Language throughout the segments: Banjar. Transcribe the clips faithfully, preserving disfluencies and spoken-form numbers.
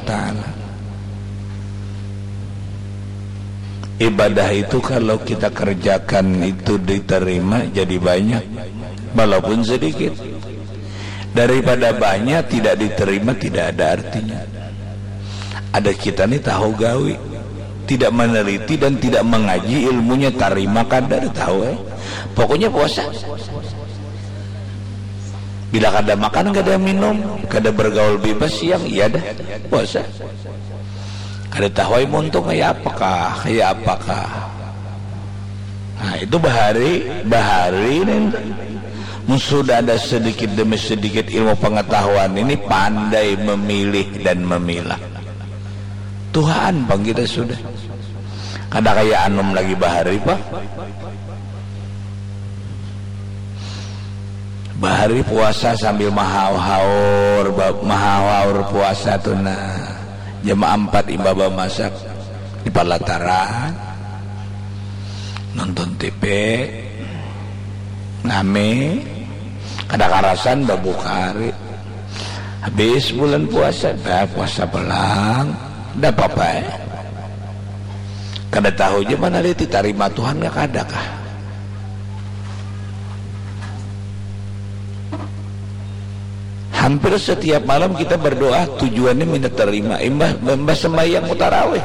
Ta'ala. Ibadah itu kalau kita kerjakan itu diterima jadi banyak, walaupun sedikit. Daripada banyak tidak diterima, tidak ada artinya. Ada kita nih tahu gawi, tidak meneliti dan tidak mengaji ilmunya, tarima kada tahu eh. Pokoknya puasa. Bila kada makan, kada minum, kada bergaul bebas siang, iya dah, puasa. Kada tahu ai muntung kaya apakah, kaya apakah. Nah, itu bahari, bahari nih. Mun sudah ada sedikit demi sedikit ilmu pengetahuan ini, pandai memilih dan memilah. Tuhaan pang kita sudah. Kada kaya anum lagi bahari, Pak. Bahari puasa sambil mahaur-haur, ba-, mahaur-haur puasa tu nah. Jam ampat imbah bamasak di palataran. Nonton T V. Nami. Kada karasan babuka hari. Habis bulan puasa, dah puasa pulang. Dah apa-apa eh. Kada tahu ja mana dia ditarima Tuhan kah kada kah. Hampir setiap malam kita berdoa tujuannya minta terima. Imbah, imbah sembahyang tarawih.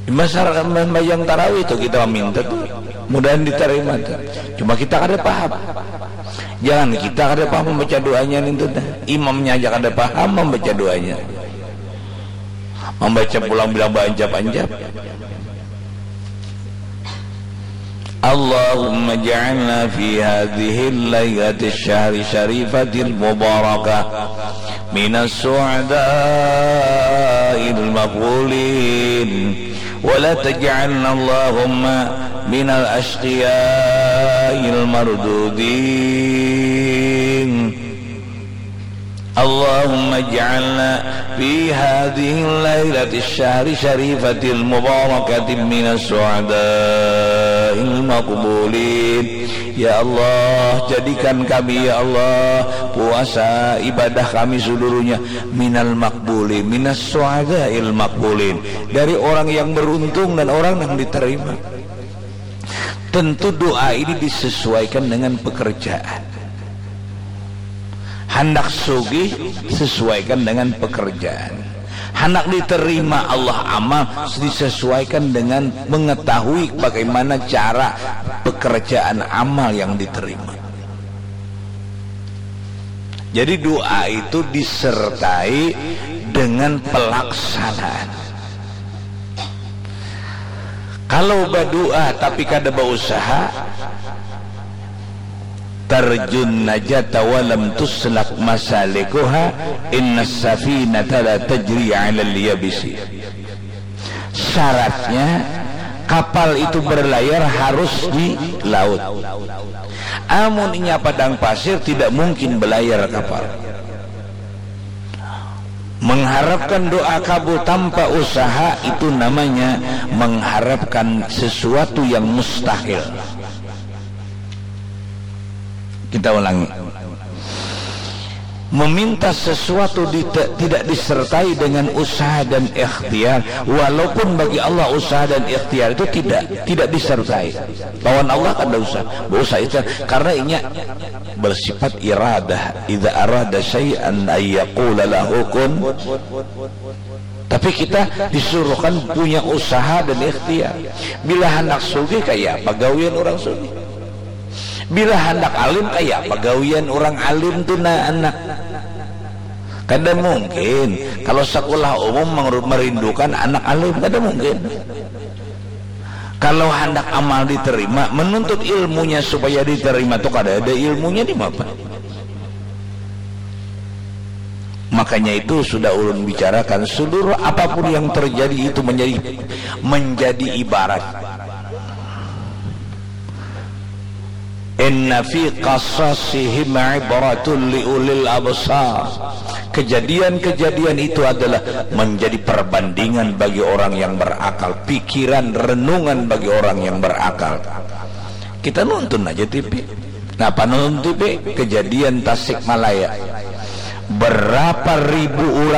Imbah sar-, sembahyang tarawih tu kita minta tu mudahan diterima tu. Cuma kita kada paham. Jangan kita kada paham membaca doanya nintu dah. Imamnya aja kada paham membaca doanya. Membaca pulang bilang baancap-ancap. اللهم اجعلنا في هذه الليلة الشهر الشريفة المباركة من السعداء المقبولين، ولا تجعلنا اللهم من الأشقياء المردودين. اللهم اجعلنا في هذه الليلة الشهر الشريفة المباركة من السعداء المقبولين. Ya Allah, jadikan kami, ya Allah, puasa ibadah kami seluruhnya minal makbuli, minas su'adail makbulin, dari orang yang beruntung dan orang yang diterima. Tentu doa ini disesuaikan dengan pekerjaan. Handak sugih sesuaikan dengan pekerjaan. Handak diterima Allah amal disesuaikan dengan mengetahui bagaimana cara pekerjaan amal yang diterima. Jadi doa itu disertai dengan pelaksanaan. Kalau badoa tapi kada bausaha, tarjun najata walam tuslak masalikuha, innas safinata la tajri alal yabisi. Syaratnya kapal itu berlayar harus di laut. Amun inya padang pasir tidak mungkin berlayar kapal. Mengharapkan doa kabul tanpa usaha itu namanya mengharapkan sesuatu yang mustahil. Kita ulangi. Meminta sesuatu di, tidak disertai dengan usaha dan ikhtiar, walaupun bagi Allah usaha dan ikhtiar itu tidak tidak disertai. Lawan Allah kada usah, kada usah ikhtiar karena inya bersifat iradah. Idza arada syai'an ayyaqula lahu kun. Tapi kita disuruhkan punya usaha dan ikhtiar. Bila handak sugih kaya apa gawian orang sugih? Bila handak alim kaya apa gawian orang alim tu nah anak? Kada mungkin kalau sekolah umum merindukan anak alim, kada mungkin. Kalau handak amal diterima, menuntut ilmunya supaya diterima tu kada ada ilmunya di mana. Makanya itu sudah ulun bicarakan, seluruh apapun yang terjadi itu menjadi menjadi ibarat. Inna fi qasasihim ibratun li ulil absar. Kejadian-kejadian itu adalah menjadi perbandingan bagi orang yang berakal, pikiran renungan bagi orang yang berakal. Kita nonton aja T V. Napa nonton T V? Kejadian Tasikmalaya. Berapa ribu orang